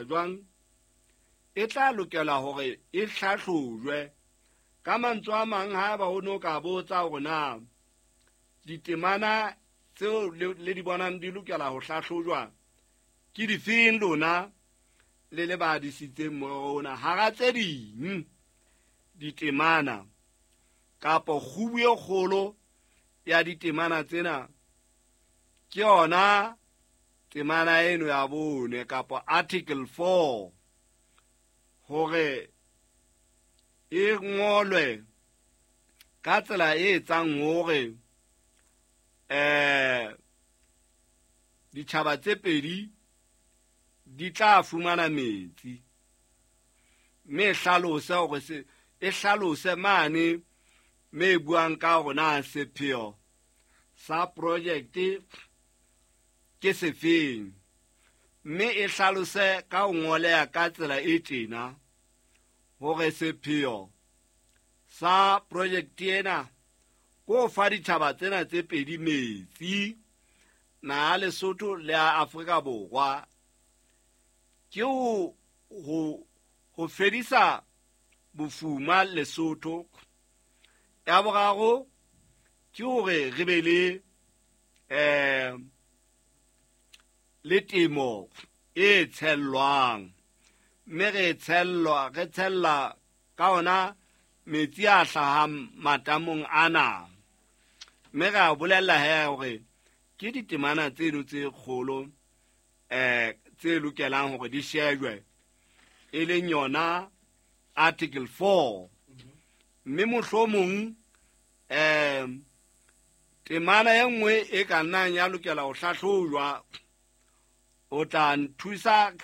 etsa jwang, e tla lokela hore e hlahlojwe. Ka mantswe a mang, haeba ho no ka botsa hore na ditemana tseo le di bonang di lokela ho hlahlojwa ke difeng, lona le le ba disitseng morero ona, hara tse ding ditemana kapo kgubu e kgolo ya ditemana tsena ke yona temana eno ya bone kapo article 4, hore e ngolwe ka tsela e etsang hore ditjhaba tse pedi di tla fumana metsi, mme hlalose hore se e hlalose mane me buang ka hore na sepheo sa project ke sefeng, mme e hlalose ka ho ngoleha ka tsela e tjena hore sepheo sa project ena ko fa ditjhaba tsena tse pedi metsi, na Lesotho le a Afrika Borwa, ke ho fedisa bofuma Lesotho. Ya boraro ke hore re be le temo e tshellwang, mme re tshella ka ona metsi a hlahang matamong ana. Mme re a bolella he hore ke ditemana tseno tse kgolo tse lokelang hore di shejwe, e leng yona article 4. Mme mohlomong temana e nngwe e ka nnang ya lokela ho hlahlojwa, o tla nthusa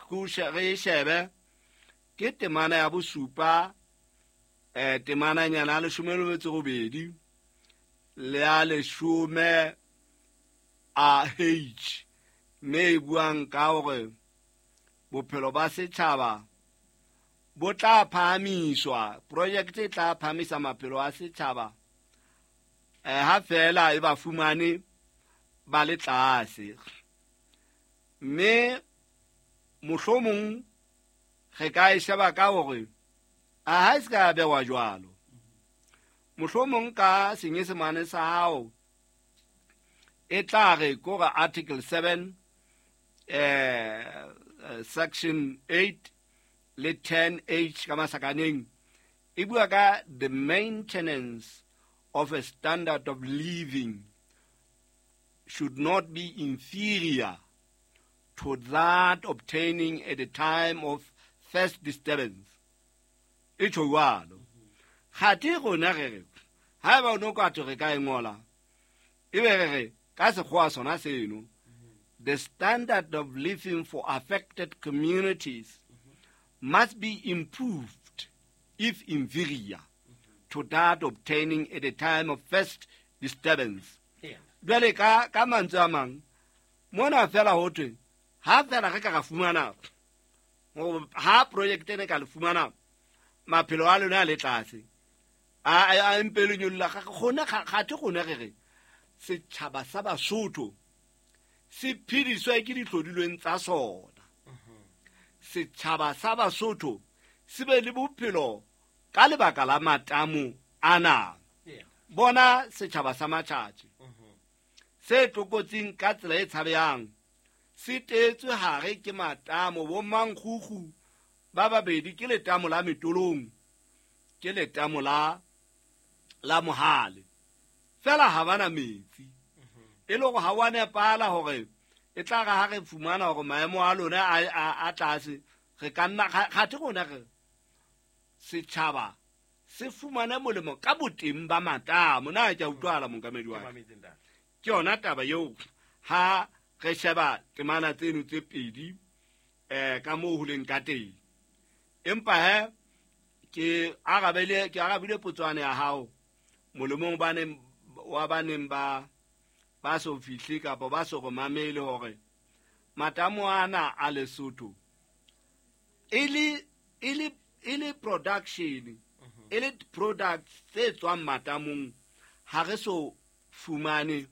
re e shebe, ke temana ya bosupa, temananyana ya 18 le ya 10 a H, mme e buang ka hore bophelo ba setjhaba bo tla phahamiswa, project e tla phahamisa maphelo a setjhaba ha fela e ba fumane ba le tlase. Mme mohlomong re ka e sheba ka hore a ha e se ka bewa jwalo, mohlomong ka senyesemane sa hao e tla re kore article 7 section 8 le 10 H ka masakaneng e bua ka the maintenance of a standard of living should not be inferior to that obtaining at the time of first disturbance. E tjho jwalo. Kgathe rona re re haeba o no ka re ka e ngola, e be re re ka sekgowa sona seno, the standard of living for affected communities must be improved if inferior to that obtaining at the time of first disturbance. Jwale ka mantswe a mang mona fela ho thwe ha fela re ka ra fumana ha project ene ka le fumana maphelo a lona a le tlase, a mpe le nyolla gona. Kgathe gona re re setjhaba sa Basotho se phediswa ke dihlodilweng tsa sona. Setjhaba sa Basotho se be le bophelo ka lebaka la matamo ana. Bona setjhaba sa Matjhatjhe se tlokotsing ka tsela e tshabehang, se teetswe hare ke matamo. Bo mankgukgu ba babedi ke letamo la Metolong, ke letamo la Mohale, fela ha bana metsi. E le hore ha wa nepala hore e tla re ha re fumana hore maemo a lona a tlase, re ka nna kgathe rona re setjhaba se fumane molemo ka boteng ba matamo. Na ke a utlwahala, monkamedi wa ka? Ke yona taba eo ha re sheba temana tseno tse pedi ka moo ho leng ka teng. Empa he ke arabile potswana ya hao molemong wa baneng ba so fihle kapa ba so re mamele hore matamo ana a Lesotho e le production, e le products tse tswang matamong, ha re so fumane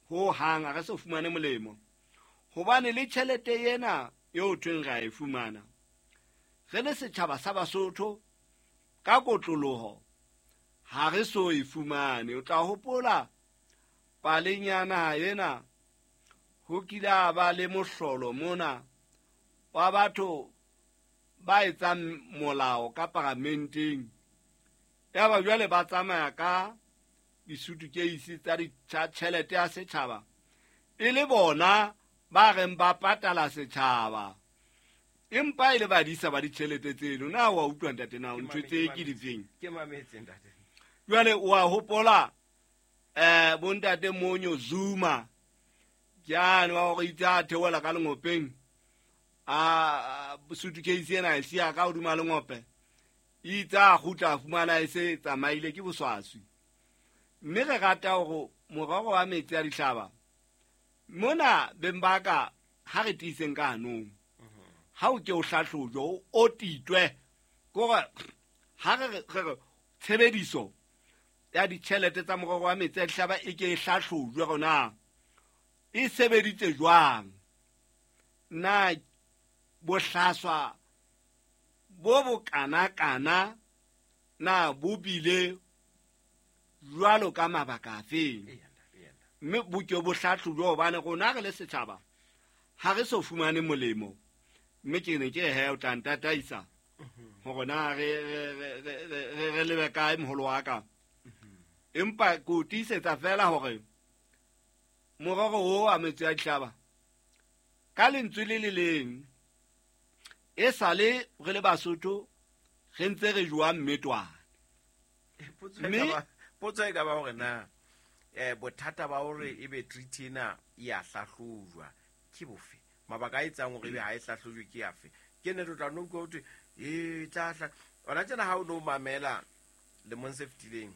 ho hang, ha re so fumane molemo, hobane le tjhelete ena eo thweng ra e fumana, re le setjhaba sa Basotho ka kotloloho ha re so e fumane. O tla hopola paleng ya naha ena ho kile a ba le mohlolo mona wa batho ba etsang molao ka paramenteng. Yaba jwale ba tsamaya ka disutukeisi tsa tjhelete ya setjhaba, e le bona ba reng ba patala setjhaba, empa e le badisa ba ditjhelete tseno. Na wa utlwa ntate na ntho tse ke difeng? Ke mametse ntate. Jwale wa hopola bontate Monyo Zuma ke ane wa hore itse a theohela ka lengopeng, a suitcase ena e siya ka hodima lengope, itse a kgutla a fumana e se tsamaile ke boswaswi. Mme re rata hore morero wa metsi a dihlaba mona beng ba ka ha re tiiseng ka hanong, ha o ke o hlahlojwe, o otitwe, kore ha re re tshebediso ya ditjhelete tsa morero wa metsi a dihlaba e ke e hlahlojwe rona e sebeditse jwang, na bohlaswa bo bokanakana na bo bile jwalo ka mabaka afeng, mme bo ke bo hlahlojwe, hobane rona re le setjhaba ha re so fumane molemo. Mme ke ne ke he o tla ntataisa hore na re lebe kae moholo wa ka. Empa ke o tiisetsa fela hore morero o wa metsi a dihlaba ka lentswe le le leng e sale re le Basotho re ntse re jowa mmetwane. Potso e ka ba hore na bothata ba hore ebe treaty ena e a hlahlojwa ke bofe? Mabaka a etsang hore ebe ha e hlahlojwe ke afe? Ke ne re tla no utlwa ho thwe e tla hla. Hona tjena ha o no mamela lemong se fetileng,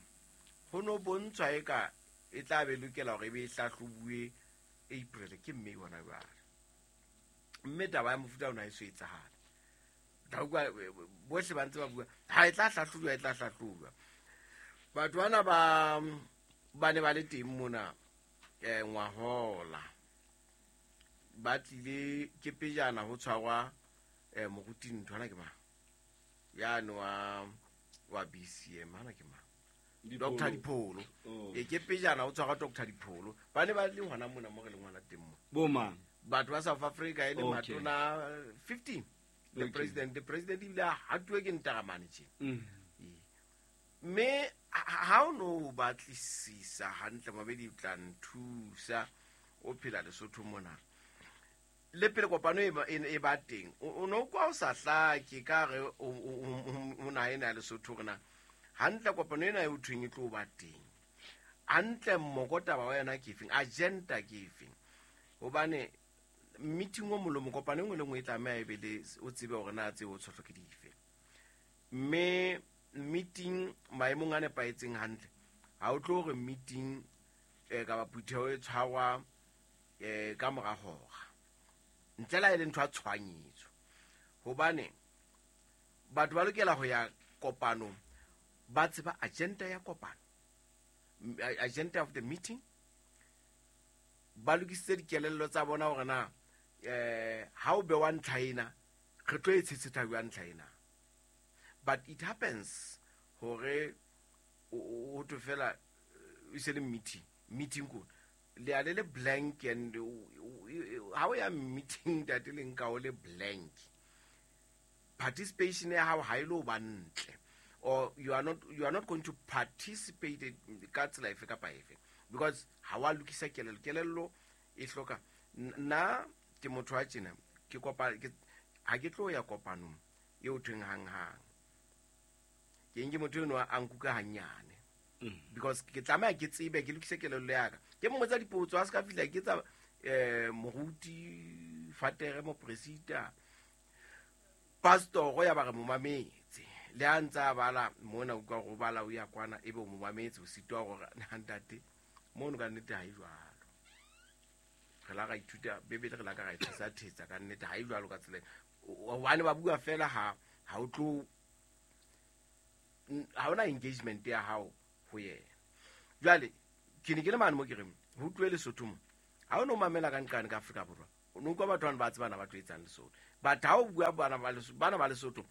ho no bontshwa eka e tla be lokela hore ebe e hlahlobuwe April ke mme hona jwale. Mme taba ya mofuta ona e so etsahale. Tla utlwa bohle ba ntse ba bua ha e tla hlahlojwa, e tla hlahlojwa. Batho bana ba ne ba le teng mona ngwahola, ba tlile ke pejana ho tshwarwa moruti ntho ana ke mang yane wa BCM ana ke mang, Dr. Dipholo. E ke pejana ho tshwarwa Dr. Dipholo, ba ne ba le hona mona mo re leng hona teng mo. Bo mang? Batho ba South Africa e le matona 15. The president, the president ebile a hatuwe ke ntaramane tje. Mme ha o no batlisisa hantle mabedi tla nthusa o phela Lesotho mona. Le pele kopano e ba teng, o no kwa o sa hlake ka re o na ena Lesotho rena. Hantle kopano ena e o thweng e tlo ba teng. Hantle mmoko taba wa yona ke efeng, agenda ke efeng? Hobane meeting o molomo kopano e nngwe le nngwe e tlameha e be le o tsebe hore na tseo o tshohlo ke dife. Mme meeting maemong a nepahetseng hantle, ha o tlo hore meeting kapa phutheho e tshwarwa ka mora hora, ntle le ha e le ntho ya tshohanyetso. Hobane batho ba lokela ho ya kopanong ba tseba agenda ya kopano, agenda of the meeting, ba lokisitse dikelello tsa bona hore na ha o bewa ntlha ena re tlo e tshetsheta jwang ntlha ena. But it happens hore o thwe fela e se le meeting, meeting ko le a le le blank, and ha o ya meeting ntate le nka o le blank, participation ya hao ha e lo ba ntle, or you are not going to participate ka tsela efe kapa efe, because ha wa lokisa kelello. Kelello e hloka nna ke motho wa tjena, ke kopa ha ke tlo ya kopanong eo thweng hang hang, ke nke motho eno a nkuka hanyane, because ke tlameha ke tsebe, ke lokise kelello ya ka, ke mmotsa dipotso, a se ka fihla ke tsa moruti, fatere, mopresita, pastor ya ba re mo mametse, le ha ntse a bala mona utlwa go bala o ya kwana, ebe o mo mametse, o sitwa hore ntate mono ka nnete ha e jwalo. Re la ra ithuta Bibele, re la ka ra ithusa thetsa ka nnete ha e jwalo ka tsela. Hobane ba bua fela ha o tlo ha ona engagement ya hao ho yena. Jwale ke ne ke le mane mo ke reng ho tlohe Lesotho mo, ha o no mamela ka nqane ka Afrika Borwa, o no utlwa batho bana ba tsebana ba tlo etsang Lesotho. But ha o bua bana ba Lesotho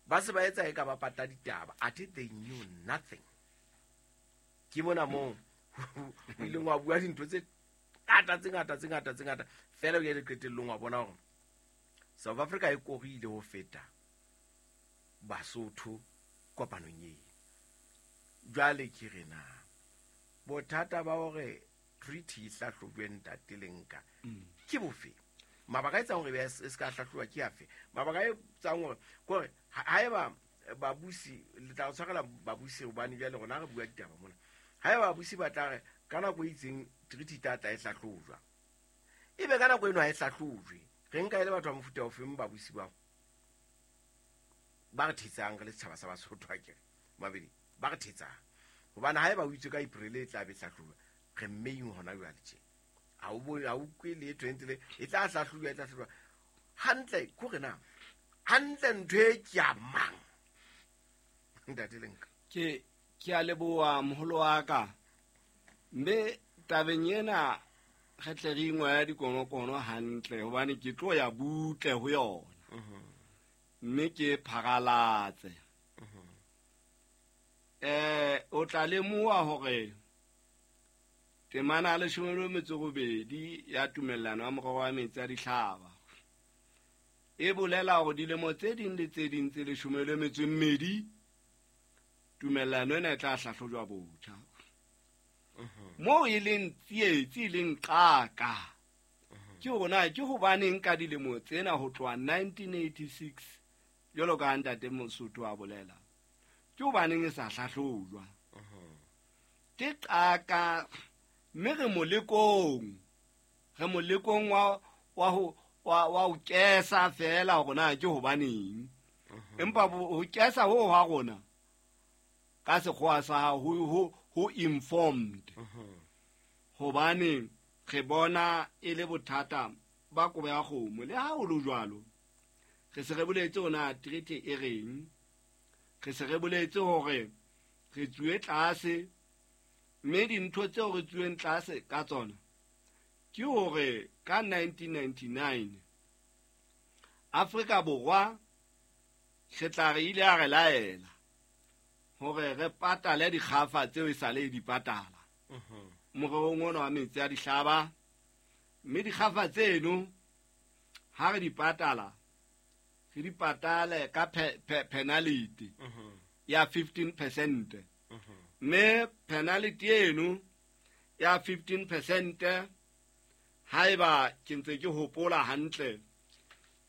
ba se ba etsa e ka ba pata ditaba, athe they knew nothing. Ke mona moo o ileng wa bua dintho tse ngata fela o ile qetellong wa bona hore South Africa e korile ho feta Basotho kopanong eo. Jwale ke re na bothata ba hore treaty e hlahlojwe ntate Lenka ke bofe? Mabaka a etsang hore e se ka hlahloba ke afe? Mabaka a etsang hore kore haeba babusi le tla tshwarela babusi hobane jwale rona re bua ditaba mona. Haeba babusi ba tla re ka nako e itseng treaty tla tla e hlahlojwa, ebe ka nako eno ha e hlahlojwe, re nka e le batho ba mofuta ofeng babusi bao ba re thetsang re le setjhaba sa Basotho? Akere mabedi ba re thetsang hobane haeba o itse ka April e tla be hlahlojwa, re mmeng hona jwale tje ha o bone ha o kwe le 20 le e tla hlahlojwa hantle. Ko re na hantle ntho e ke ya mang ntate Lenka? Ke a leboha moholo wa ka, mme tabeng ena re tle re ingwe dikonokono hantle hobane ke tlo ya butle ho yona mme ke pharalatse. O tla lemoha hore temana ya 18 ya tumellano ya morero wa metsi a dihlaba e bolela hore dilemo tse ding le tse ding tse 12 tumellano ena e tla hlahlojwa botjha. Moo e leng tsietsi e leng qaka ke hore na ke hobaneng ka dilemo tsena ho tloha 1986 jwalo ka ntate Mosotho a bolela, ke hobaneng e sa hlahlojwa? Ke qaka, mme re molekong wa ho kesa fela hore na ke hobaneng. Empa ho kesa ho ha rona ka sekgowa sa ho informed, hobane re bona e le bothata ba kobo ya kgomo. Le ha ho le jwalo, re se re boletse hore treaty e reng, re se re boletse hore re tsuwe tlase, mme dintho tseo re tsuweng tlase ka tsona ke hore ka 1999 Afrika Borwa re tla re ile a re laela hore re patale dikgafa tseo e sale di patala morerong ona wa metsi a dihlaba, mme dikgafa tseno ha re di patala re di patale ka penalty ya 15%. Mme penalty eno ya 15% haeba ke ntse ke hopola hantle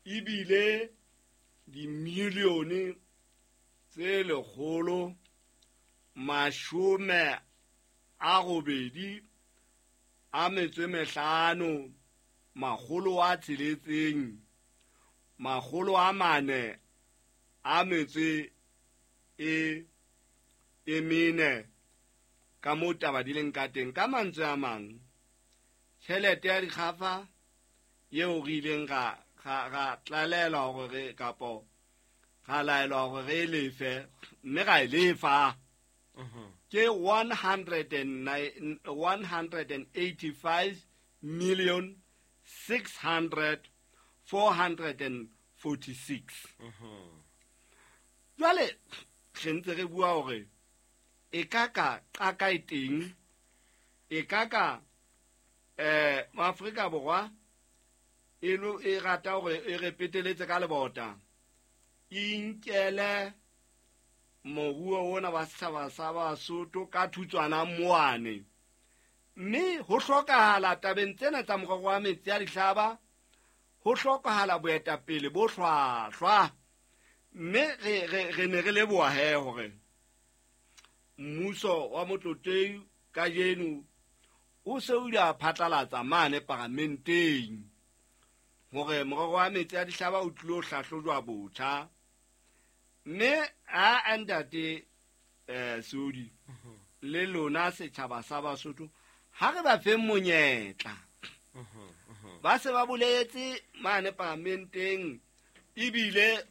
ebile dimilione tse 185 600 400 a metso e mene ka moo taba di leng ka teng. Ka mantswe a mang, tjhelete ya dikgafa eo re ileng ra tlalelwa hore re kapo ra laelwa hore re lefe, mme ra e lefa ke 185,600,446. Jwale re ntse re bua hore e ka ka qaka e teng, e ka ka Afrika Borwa e rata hore e re peteletse ka lebota, e nkele moruo ona wa setjhaba sa Basotho ka thutswana moane. Mme ho hlokahala tabeng tsena tsa morero wa metsi a dihlaba, ho hlokahala boetapele bo hlwahlwa. Mme re ne re leboha he hore mmuso wa Motlotlei kajeno o se o ile a phatlalatsa mane paramenteng hore morero wa metsi a dihlaba o tlilo hlahlojwa botjha. Mme a ntate Sodi le lona setjhaba sa Basotho, ha re ba feng monyetla. Ba se ba boletse mane paramenteng ebile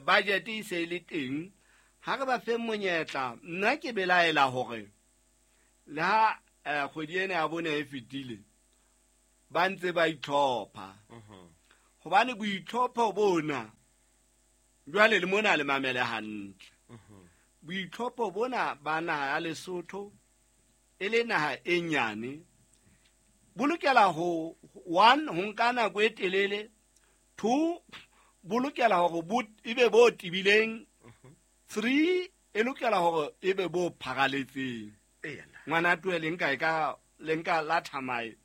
budget e se le teng, ha re ba feng monyetla. Nna ke belaela hore le ha kgwedi ena ya bone e fetile ba ntse ba itlhopha. Hobane boitlhopho bona jwale le mona le mamele hantle. Boitlhopho bona ba naha ya Lesotho e le naha e nyane bo lokela ho 1 ho nka nako e telele, 2 bo lokela hore e be bo tebileng, 3 e lokela hore e be bo pharaletseng. Ngwana tuwe le nka e ka le nka la thamae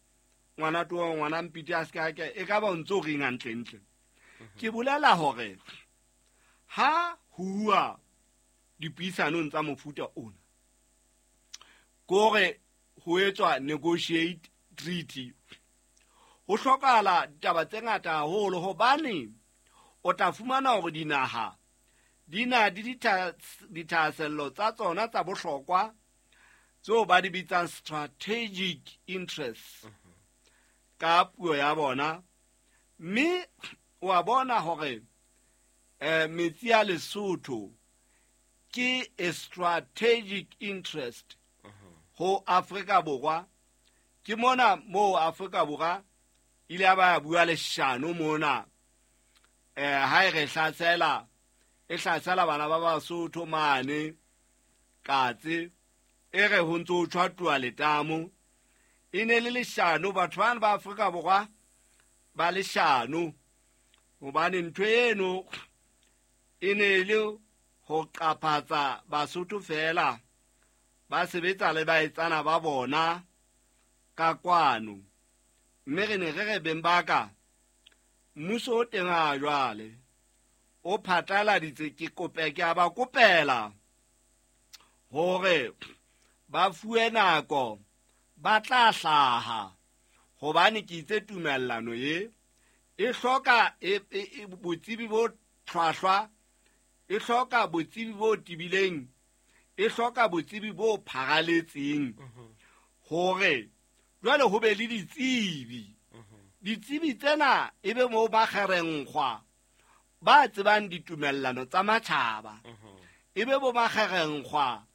ngwana tuwe ngwana mpiti a ska ke e ka ba ntso reng hantle ntle. Ke bolela hore ha huwa dipuisanong tsa mofuta ona kore ho etswa negotiate treaty, ho hlokahala ditaba tse ngata haholo hobane o tla fumana hore dinaha di na di dithahasello tsa tsona tsa bohlokwa tseo ba di bitsang strategic interests ka puo ya bona. Mme wa bona hore metsi a Lesotho ke a strategic interest ho Afrika Borwa. Ke mona moo Afrika Borwa ile ya ba bua leshano mona ha e re hlasela e hlasela bana ba Basotho mane Katse e re ho ntso tshwatuwa letamo. E ne le leshano, batho bana ba Afrika Borwa ba leshano hobane ntho eno e ne le ho qaphatsa Basotho fela ba sebetsa le baetsana ba bona ka kwano. Mme re ne re re beng ba ka mmuso o teng ha jwale o phatlaladitse, ke kope ke a ba kopela hore ba fuwe nako ba tla hlaha hobane ke itse tumellano e hloka botsebi bo hlwahlwa, e hloka botsebi bo tebileng, e hloka botsebi bo pharaletseng hore jwale ho be le ditsebi. Ditsebi tsena e be moo ba kgerenkgwa ba tsebang ditumellano tsa matjhaba, e be bo makgerenkgwa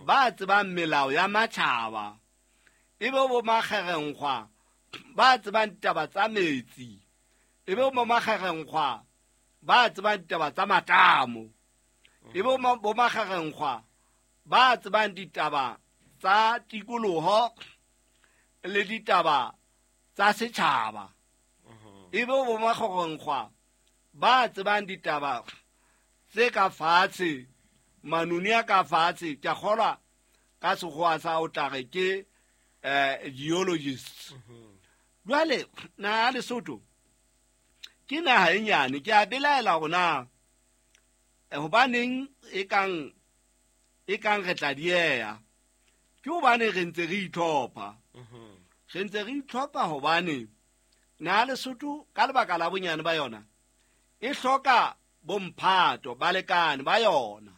ba tsebang melao ya matjhaba, e be bo makgerenkgwa ba tsebang ditaba tsa metsi, e be bo makgerenkgwa ba tsebang ditaba tsa matamo, e be bo makgerenkgwa ba tsebang ditaba tsa tikoloho le ditaba tsa setjhaba, e be bo makgerenkgwa ba tsebang ditaba tse ka fatshe, manoni a ka fatshe. Ke a kgolwa ka sekgowa sa o tla re ke geologists. Jwale naha ya Lesotho ke naha e nyane, ke a belaela hore na hobaneng e kang re tla dieha. Ke hobane re ntse re itlhopha. Re ntse re itlhopha hobane naha ya Lesotho ka lebaka la bonyane ba yona e hloka bomphato balekane ba yona.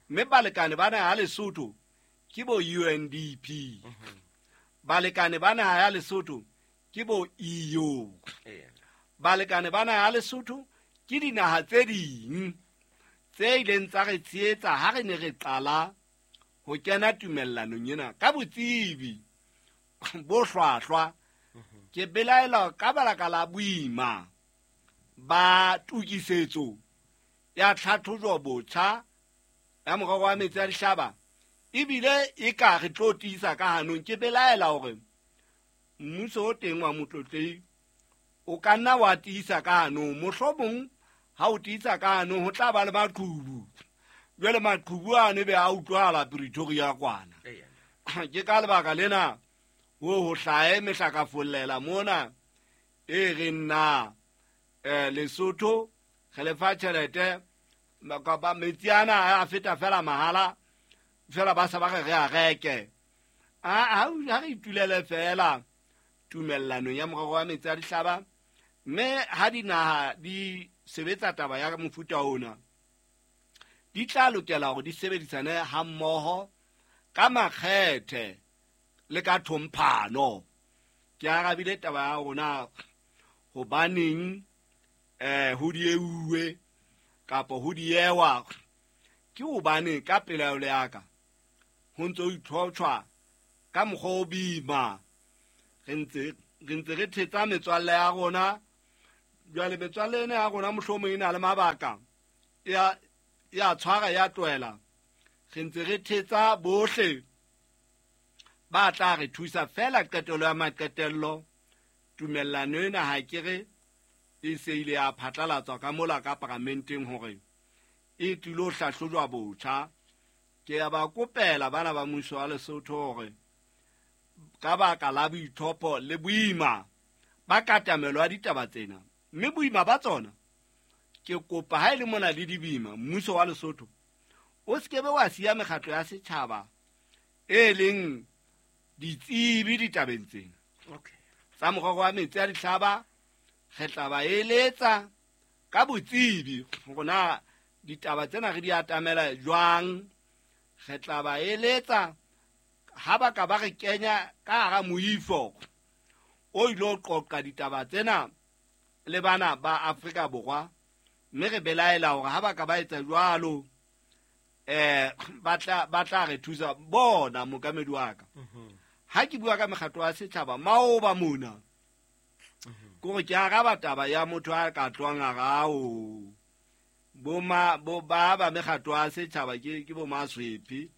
Mme balekane ba naha ya Lesotho ke bo UNDP. Balekane ba naha ya Lesotho ke bo EU. Balekane ba naha ya Lesotho ke dinaha tse ding tse ileng tsa re tshehetsa ha re ne re qala ho kena tumellanong ena ka botsebi bo hlwahlwa. Ke belaela ka baka la boima ba tokisetso ya tlhatlhojo botjha ya morero wa metsi a dihlaba, ebile e ka re tlo tiisa ka hanong. Ke belaela hore mmuso o teng wa Motlotlei o ka nna wa tiisa ka hanong. Mohlomong ha o tiisa ka hanong ho tla ba le maqhubu. Jwale maqhubu ano be a utlwahala Pretoria kwana. Ke ka lebaka lena ho hlahe mehlakafollela mona e re nna Lesotho re lefa tjhelete kapa metsi ana a feta fela mahala fela ba sa ba re a reke. Ha re itulele fela tumellanong ya morero wa metsi a dihlaba. Mme ha dinaha di sebetsa taba ya mofuta ona di tla lokela hore di sebedisane hammoho ka makgethe le ka thomphano. Ke arabile taba ya rona hobaneng ho dieuwe kapa ho diewa ke hobane ka pelaelo ya ka ho ntso itlhotshwa ka mokgwa o boima. Re ntse re thetsa metswalle ya rona Jwale metswalle ena ya rona mohlomong e na le mabaka ya tshwara ya tlohela. Re ntse re thetsa bohle ba tla re thusa fela qetelo ya maqetello. Tumellano ena ha ke re e se ile ya phatlalatswa ka mola ka paramenteng hore e tlilo hlahlojwa botjha. Ke ya ba kopela bana ba mmuso wa Lesotho hore ka baka la boithopo le boima ba katamelo ya ditaba tsena, mme boima ba tsona ke kopa ha e le mona le dibima mmuso wa Lesotho o se kebe wa siya mekgatlo ya setjhaba e leng ditsebi ditabeng tsena. Okay. Tsa morero wa metsi a dihlaba re tla ba eletsa ka botsebi hore na ditaba tsena re di atamela jwang. Re tla ba eletsa ha ba ka ba re kenya ka hara moifo o ilo qoqa ditaba tsena le bana ba Afrika Borwa, mme re belaela hore ha ba ka ba etsa jwalo ba tla re thusa bona mokamedi wa ka. Ha ke bua ka mekgatlo ya setjhaba maoba mona kore ke araba taba ya motho a ka tlohang a rao bo ma bo ba ba mekgatlo ya setjhaba ke bo maswepi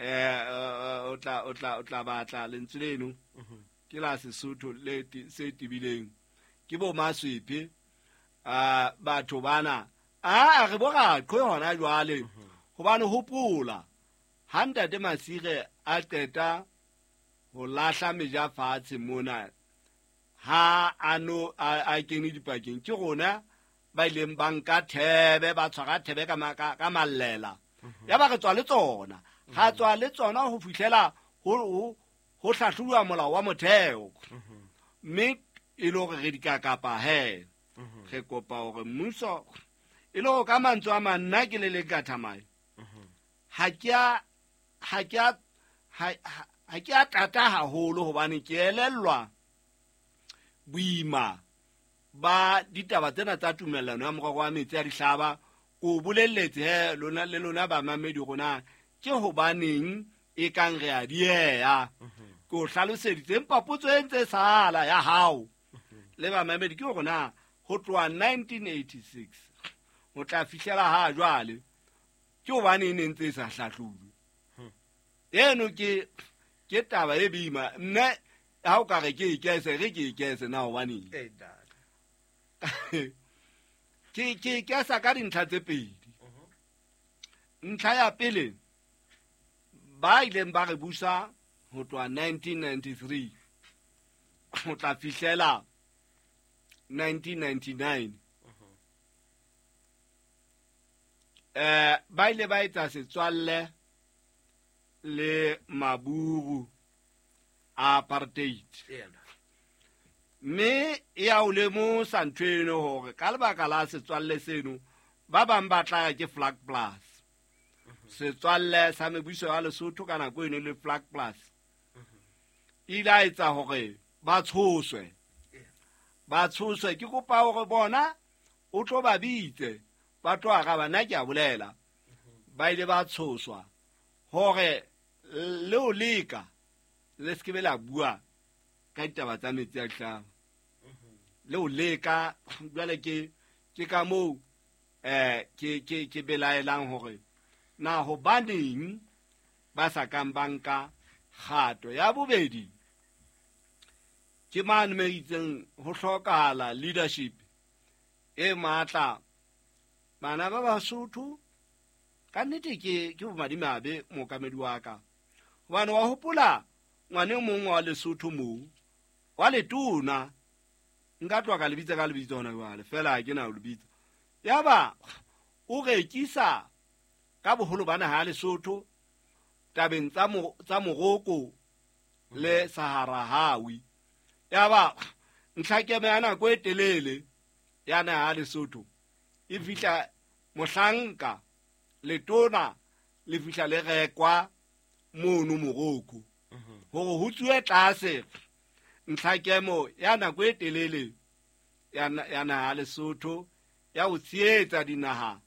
o tla batla lentswe leno ke la Sesotho le se tibileng ke bo maswepi batho bana a re bo raqhwe hona jwale. Hobane hopola ha ntate Masire a qeta ho lahla meja fatshe mona ha ano a kene dipakeng ke rona ba ileng ba nka thebe ba tshwara thebe ka mallela ya ba re tswa le tsona ha tswa le tsona ho fihlela ho hlahlobuwa molao wa motheo mme e le hore re dikakapa he re kopa hore mmuso e le hore ka mantswe a mang nna ke le leng ka thamae ha ke a tata haholo hobane ke elellwa boima ba ditaba tsena tsa tumellano ya morero wa metsi a dihlaba. Ko bolelletse he lona le lona ba mamedi rona ke hobaneng e kang re a dieha. Ko hlaloseditse empa potso e ntse sala ya hao le ba mamedi ke hore na ho tloha 1986 ho tla fihlela ha jwale ke hobane e ne ntse e sa hlahlojwe. Eno ke taba e boima mme ha o ka re ke ikese re ke ikese na hobaneng ke ikesa ka dintlha tse pedi. Ntlha ya pele ba ileng ba re busa ho tloha 1993 ho tla fihlela 1999 ba ile ba etsa setswalle le maburu a apartheid. Mme ya o lemosa ntho eno hore ka lebaka la setswalle seno ba bang ba tla ke Flag Plus. Setswalle sa mebuso ya Lesotho ka nako eno le Flag Plus ile a etsa hore ba tshoswe. Ba tshoswe ke kopa hore bona o tlo ba bitse ba tlo araba nna ke a bolela. Ba ile ba tshoswa hore le o leka le se ke be la bua ka ditaba tsa metsi a dihlaba. Le o leka jwale ke ka moo ke belaelang hore na hobaneng ba sa kang ba nka kgato. Ya bobedi ke mane me itseng ho hlokahala leadership e matla. Bana ba Basotho ka nnete ke bomadimabe mookamedi wa ka hobane wa hopola ngwane mong wa Lesotho moo wa letona nka tloha ka lebitsa ka lebitso hona jwale fela ha ke na ho lebitsa. Yaba o rekisa ka boholo ba naha ya Lesotho tabeng tsa Morocco le Sahara Hawi. Yaba ntlhakeme ya nako e telele ya naha ya Lesotho e fihla mohlanka letona le fihla le rekwa mono Morocco hore ho tsuwe tlase ntlhakemo ya nako e telele ya naha ya Lesotho ya ho tshehetsa dinaha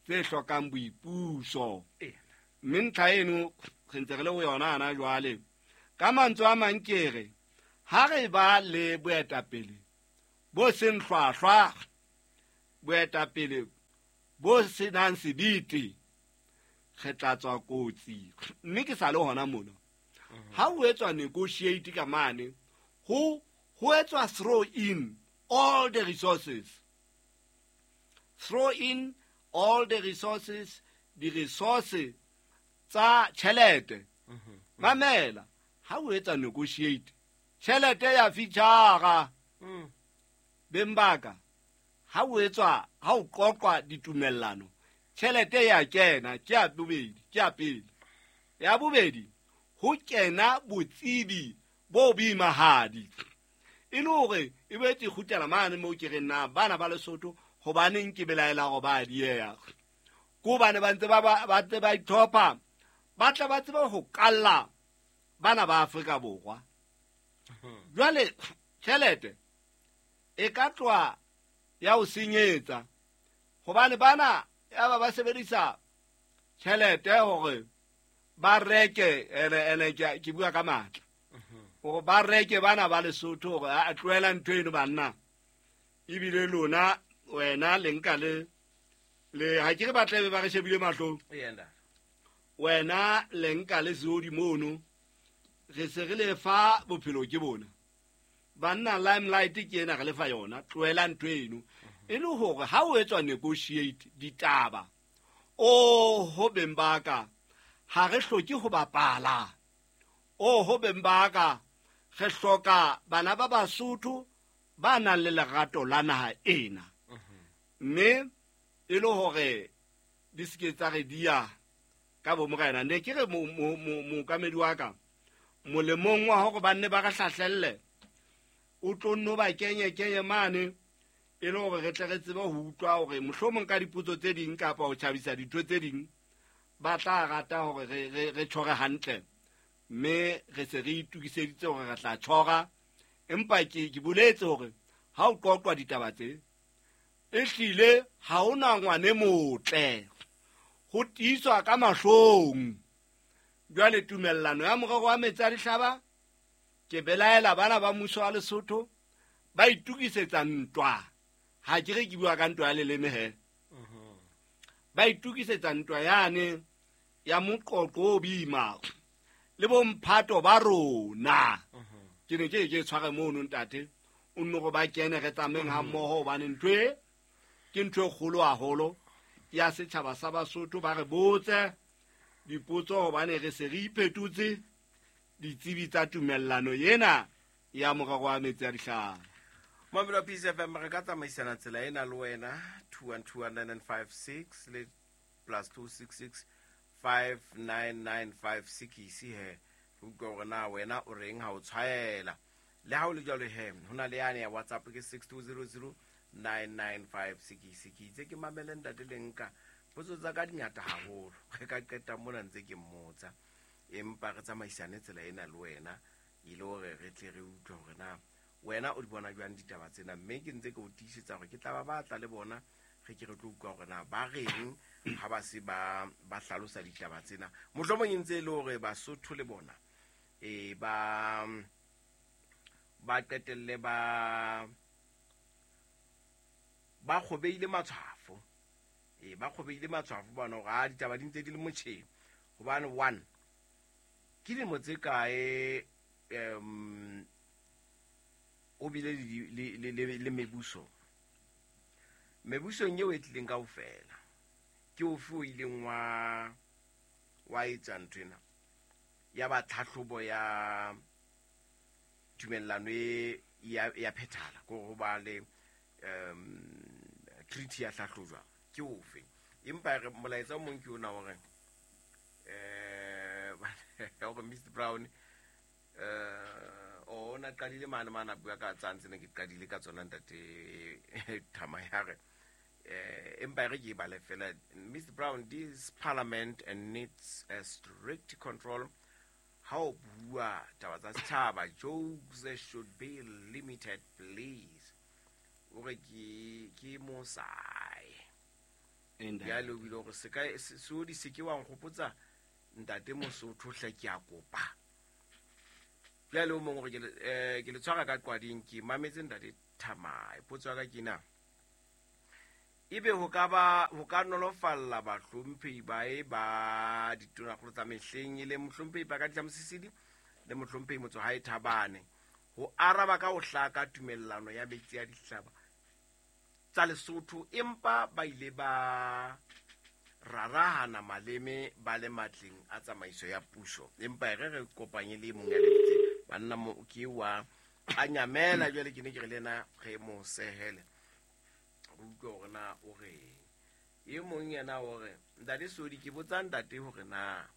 tse hlokang boipuso. Mme ntlha eno re ntse re le ho yona hana jwale. Ka mantswe a mang ke re ha re ba le boetapele bo seng hlwahlwa, boetapele bo senang sebete, re tla tswa kotsi. Mme ke sa le hona mona, ha ho etswa negotiate ka mane, ho etswa throw in all the resources. Throw in all the resources, di-resource tsa tjhelete. Mamela, ha o etsa negotiate, tjhelete ya feature. Beng baka, ha o etswa, ha o qoqwa ditumellano, tjhelete ya kena, ke ya bobedi, ke ya pele. Ya bobedi, ho kena botsebi bo boimahadi. E le hore e boetse e kgutlela mane moo ke reng na bana ba Lesotho hobaneng ke belaela hore ba dieha. Ke hobane ba ntse ba ntse ba ithopa, ba tla ba tsebe ho kalla bana ba Afrika Borwa. Jwale tjhelete e ka tloha ya ho senyetsa, hobane bana ya ba sebedisa tjhelete hore ba reke, ene ke bua ka matla, hore ba reke bana ba Lesotho hore a tlohela ntho eno banna. Ebile lona wena le nka le ha ke re ba tlabe ba re shebile mahlong. Wena le nka le seodi mono, re se re le fa bophelo ke bona. Banna limelight ke ena re le fa yona, tlohela ntho eno. E le hore ha o etswa negotiate ditaba, o ho beng ba ka, ha re hloke ho bapala. O ho beng ba ka, re hloka bana ba Basotho ba nang le lerato la naha ena. Mme e le hore di se ke tsa re dia ka bo morena. Ne ke re mookamedi wa ka, molemong wa hore ba nne ba re hlahlelle, o tlo nno ba kenye mane, e le hore re tle re tsebe ho utlwa hore mohlomong ka dipotso tse ding kapa ho tjhabisa ditho tse ding, ba tla rata hore re tjhore hantle. Mme re se re itokiseditse hore re tla tjhora. Empa ke boletse hore ha o qoqwa ditaba tse, ehlile ha hona ngwane motle, ho tiiswa ka mahlong. Jwale tumellano ya morero wa metsi a dihlaba, ke belaela bana ba mmuso wa Lesotho ba itokisetsa ntwa. Ha ke re ke bua ka ntwa ya leleme he. Ba itokisetsa ntwa yane ya moqoqo o boima le bomphato ba rona. Ke ne ke tshware mono ntate, o nno go ba kene re tsameng ha mmoho, hobane ntho e ke ntho e kgolo haholo ya setjhaba sa Basotho. Ba re botse dipotso hobane re se re iphetotse ditsebi tsa tumellano ena ya morero wa metsi a dihlaba. Mamelo Peace FM, re ka tsamaisana tsela ena le wena 2129956 le +266 59956 he. Re utlwa hore na wena o reng ha o tshwaela. Le ha o le jwalo he, ho na le yane ya WhatsApp ke 62009956. Ke itse ke mamele ntate le nka potso tsa ka dingata haholo, re ka qeta mona ntse ke mmotsa, empa re tsamaisane tsela ena le wena e le hore re tle re utlwe hore na wena o di bona jwang ditaba tsena. Mme ke ntse ke o tiisetsa hore ke tla ba batla le bona, re ke re tlo utlwa hore na ba reng ha ba se ba hlalosa ditaba tsena. Mohlomong e ntse e le hore Basotho le bona ba qetelle ba kgobeile matshwafo. Ba kgobeile matshwafo bona hore ha ditaba di ntse di le motjheng. Hobane one, ke dilemo tse kae o bile le mebuso? Mebusong eo e tlileng kaofela, ke ofe o ileng wa etsa ntho ena ya ba tlhahlobo ya tumellano e ya phethala, ko ho ba le treaty ya hlahlojwa, ke ofe? Empa re molaetsa o mong ke ona hore hore Mr Brown o na qadile mane mane a bua ka tsantse ne ke qadile ka tsona ntate Thama ya re empa re ke bale fela. Mr Brown, this parliament and needs a strict control. Ha o bua taba tsa setjhaba, jokes should be limited please. O re ke mosai jalo o bile hore se ka seodi se ke wa nkgopotsa ntate Mosotho hle ke a kopa. Jwale o mong hore ke le tshwara ka qwading, ke mametse ntate Thamae. Potso ya ka ke na, ebe ho ka ba ho ka nolofalla bahlomphehi ba e ba ditonakgolo tsa mehleng e le mohlomphehi Pakaditla Mosisili le mohlomphehi Motsohae Thabane ho araba ka ho hlaka tumellano ya metsi ya dihlaba tsa Lesotho, empa ba ile ba rarahana maleme ba le matleng a tsamaiso ya puso. Empa e re re kopanye le mong ya lebitse banna mo ke wa a nyamela jwale ke ne ke re le yena re mo sehele re utlwe hore na o reng. E mong yena o re, ntate Sodi, ke botsa ntate hore na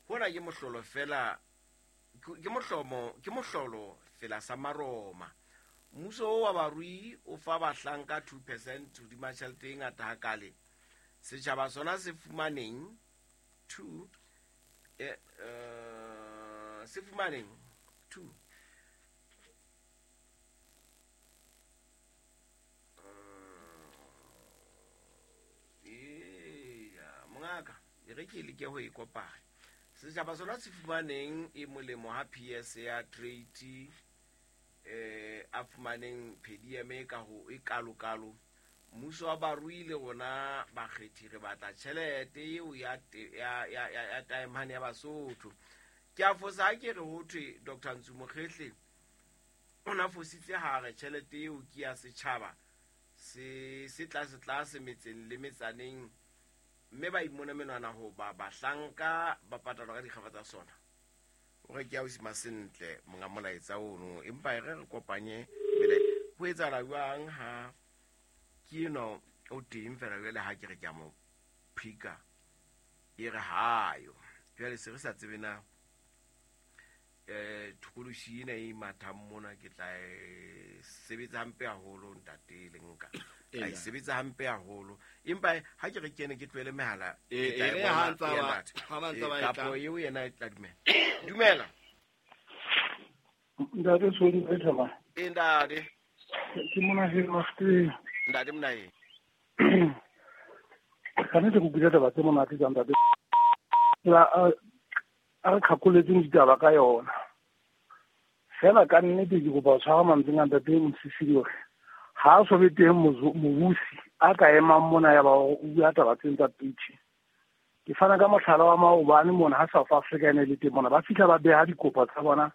hona ke mohlolo fela, ke mohlomo, ke mohlolo fela sa Maroma. Mmuso o wa barui o fa bahlanka 2% hodima tjhelete e ngata hakale. Setjhaba sona se fumaneng 2 se fumaneng 2 mongaka e re ke leke ho e kopanya. Setjhaba sona se fumaneng e molemo ha PS ya trade a fumaneng PDM e ka ho e kalokalo. Mmuso wa barui le rona bakgethi re batla tjhelete eo ya ya taemane ya Basotho. Ke a fosa ha ke re ho thwe Dr. Ntsu Mokhehle o na fositse ha re tjhelete eo ke ya setjhaba se tlase tlase metseng le metsaneng, mme ba imona menwana ho ba bahlanka ba patalwa ka dikgafa tsa sona. O re ke a o sima sentle monga molaetsa ono, empa e re re kopanye mele ho etsahala jwang ha ke eno o teng fela jwale ha ke re ke a mo phika e re hayo. Jwale se re sa tsebe na thokolosi ena e mathang mona ke tla e sebetsa hampe haholo ntate le nka. A e sebetsa hampe haholo, empa ha ke re kene ke tlohele mehala E ke tla e re bona ha ntsa e ba lata. ha ba ntsa ba e Kapo tla. eo yena e tla dumela. Dumela. Ntate Sodi e thaba. E ntate. Ke mona he mafte. Ntate Monae. Ka nnete ke utlwile taba tse monate tsa ntate. La a re kgakoletseng ditaba ka yona. Fela ka nnete ke kopa ho tshwara mantsweng a ntate Mosisili hore ha a so be teng mobusi a ka emang mona ya ba o bua taba tsena tsa pitch. Ke fana ka mohlala wa maobane mona ha South Africa e ne le teng mona, ba fihla ba beha dikopo tsa bona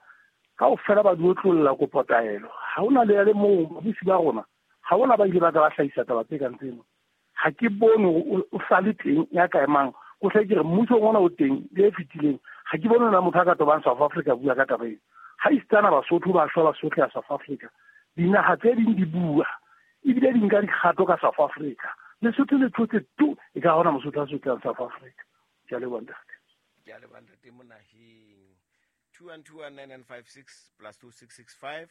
kaofela, ba di otlolla kopo taelo. Ha hona le ya le mong babusi ba rona, ha hona ba ile ba ka ba hlahisa taba tse kang tseno. Ha ke bone hore o sa le teng ya ka emang. Ko hle ke re mmusong ona o teng le e fetileng, ha ke bone na motho a ka tobang South Africa bua ka taba ena. Ha isitana Basotho ba shwa ba sotleha South Africa, dinaha tse ding di bua ebile di nka dikgato ka South Africa. Lesotho le thotse tu, e ka hona Mosotho a sotlehang South Africa. Ke a leboha ntate. Ke a leboha ntate Monaheng. 2121956 plus 2665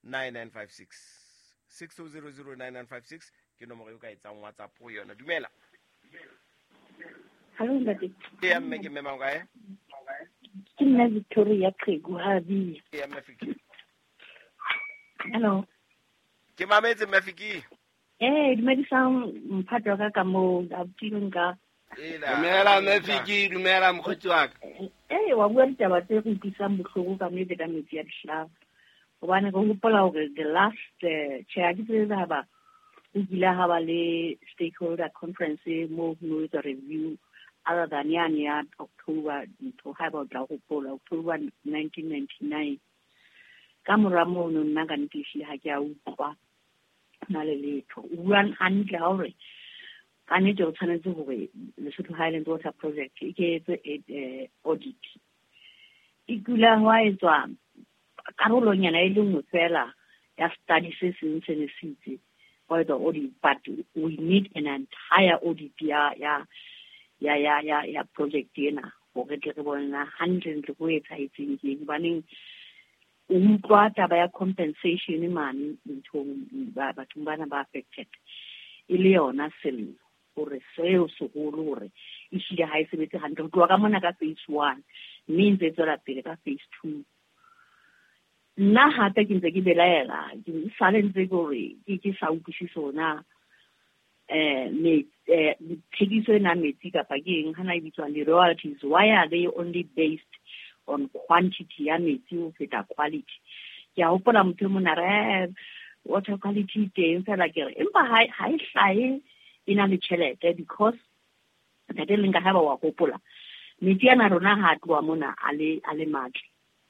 9956 62009956 ke nomoro eo ka etsang WhatsApp ho yona. Dumela. Hallo ntate. Eya mme, ke mme mang kae? Ke nna Victoria Qhegu ha bia. Eya mme Fiki. Hello. Ke mametse mme Fiki. Dumedisang mphato wa ka ka moo, abuti nka. Dumela mme Fiki, dumela mokgotsi wa ka. Wa bua ditaba tse re utlwisang bohloko ka nnete ka metsi ya dihlaba. Hobane re hopola hore the last tjhe, ha ke tsebe ha ba ho kile ha ba le stakeholder conference moo ho no etswa review other than yane ya October ntho, ha eba o tla hopola October 1999. Ka mora mono nna ka nnete ehlile ha ke a utlwa na le letho. O bua hantle ha hore ka nnete o tshwanetse hore Lesotho Highlands Water Project e ke etse audit. E kula hwa etswa karolonyana e le nngwe fela ya study se seng se ne se itse hwa etswa audit, but we need an entire audit ya project ena hore tle re bone na hantle-ntle ho etsahetseng ke eng. Hobaneng o utlwa taba ya compensation mane nthong bathong bana ba affected e le yona sello hore seo seholo hore ehlile ha e sebetse hantle ho tloha ka mona ka phase 1 mme e ntse e tswela pele ka phase 2. Nna hape ke ntse ke belaela, ke sale ntse ke hore ke sa utlwisise hore na thekiso ena metsi kapa ke eng hana e bitswang di-royalties, why are they only based on quantity ya metsi ho feta quality? Ke a hopola motho e mong a re, Water quality teng fela ke re empa ha e hlahe e na le tjhelete, because ntate leng ka ha ba wa hopola metsi ana rona ha tloha mona a le matle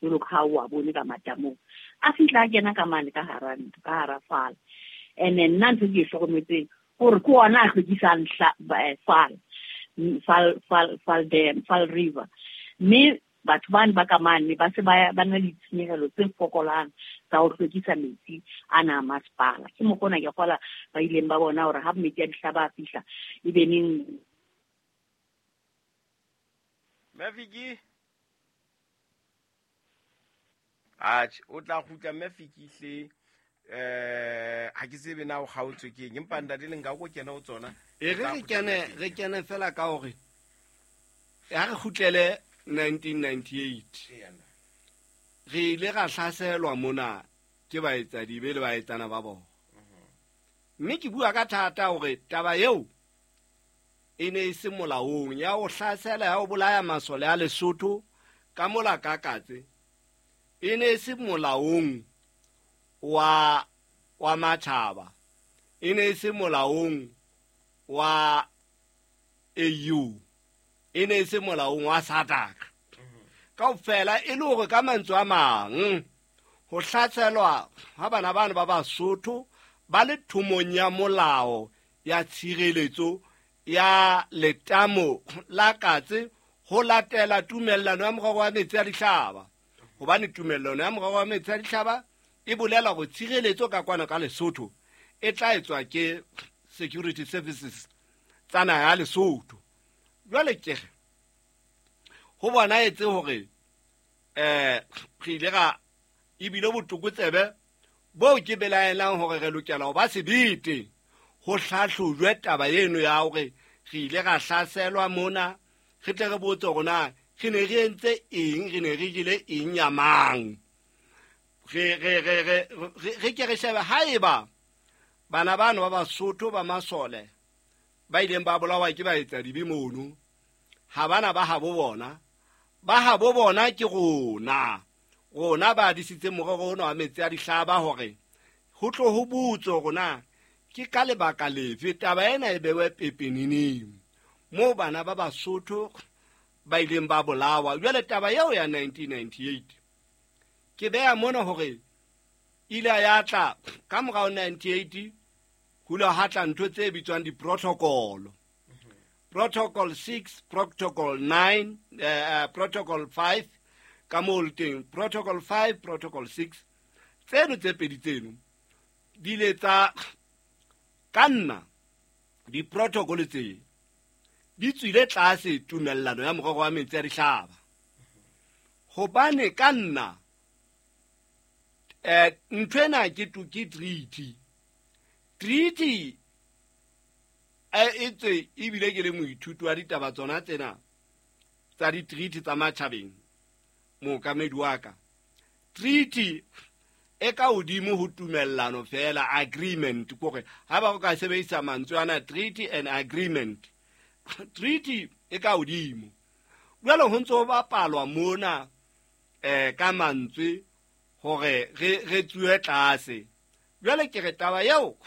jwalo ka ha o a bone ka matamong, a fihla a kena ka mane ka hara ntlo, ka hara fala. And then nna ntho ke e hlokometseng hore ke ona a hlwekisang Fal Dam, Fal River, mme batho bane ba ka mane ba se ba na le ditshenyehelo tse fokolang tsa ho hlwekisa metsi ana a masepala. Ke mokgwa ona ke kgola ba ileng ba bona hore ha metsi a dihlaba a fihla e be neng. Mafiki atjhe, o tla kgutla Mafiki hle. Ha ke tsebe na o kgaotswe ke eng, empa ntate le nka ko kena ho tsona. E re kene fela ka hore ha re kgutlele 1998 re ile ra hlaselwa mona ke baetsadibe le baetsana ba bona. Mme ke bua ka thata hore taba eo e ne e se molaong ya ho hlasela, ya ho bolaya masole a Lesotho ka mola ka Katse, e ne e se molaong wa matjhaba, e ne e se molaong wa AU, e ne e se molaong wa SADC. Kaofela e le hore ka mantswe a mang ho hlaselwa ha bana bano ba Basotho ba le thomong ya molao ya tshireletso ya letamo la Katse ho latela tumellano ya morero wa metsi a dihlaba, hobane tumellano ya morero wa metsi a dihlaba e bolela hore tshireletso ka kwana ka Lesotho e tla etswa ke security services tsa naha ya Lesotho. Jwale ke re ho bona etse hore re ile ra ebile botokotsebe boo ke belaelang hore re lokela ho ba sebete ho hlahlojwe taba eno ya hore re ile ra hlaselwa mona, re tle re botse hore na re ne re entse eng, re ne re jele eng ya mang. Re ke re shebe haeba bana bano ba Basotho ba masole ba ileng ba bolawa ke baetsadibe mono, ha bana ba habo bona, ba habo bona ke rona, rona ba disitse morero ona wa metsi a dihlaba hore ho tlo ho botswe hore na ke ka lebaka lefe taba ena e bewe pepeneneng moo bana ba Basotho ba ileng ba bolawa. Jwale taba eo ya 1998 ke beha mona hore ile ya tla ka morao 98 ho ile ha tla ntho tse bitswang di-protocol, protocol 6, protocol 9, protocol 5 ka moo le teng, protocol 5, protocol 6. Tseno tse pedi tseno di ile tsa ka nna di-protocol tse di tswile tlase tumellano ya morero wa metsi a dihlaba, hobane ka nna ntho ena ke treaty. Treaty e tswe ebile ke le moithuti wa ditaba tsona tsena tsa di-treaty tsa matjhabeng, mookamedi wa ka. Treaty e ka hodimo ho tumellano fela, agreement, kore ha ba o ka sebedisa mantswe ana treaty and agreement, treaty e ka hodimo. Jwale ho ntse ho bapalwa mona ka mantswe hore re tsuwe tlase. Jwale ke re taba eo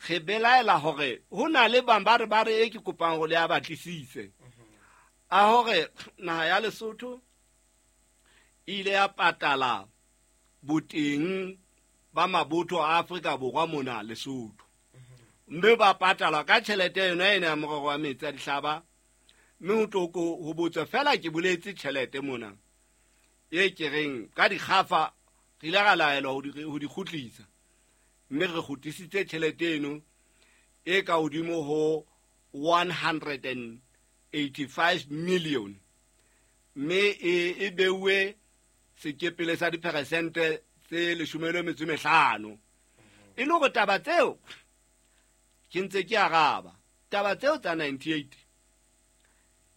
re belaela hore ho na le bang ba re e ke kopang hore le a batlisise a hore naha ya Lesotho e ile ya patala boteng ba mabotho a Afrika Borwa mona Lesotho, mme ba patala ka tjhelete yona ena ya morero wa metsi a dihlaba. Mme ho tlo ho botswa fela ke boletse tjhelete mona e ke reng ka dikgafa re ile ra laelwa ho di kgutlisa, mme re kgutlisitse tjhelete eno e ka hodimo ho 185 million, mme e beuwe sekepele sa diperesente tse 15. E le hore taba tseo ke ntse ke araba, taba tseo tsa 98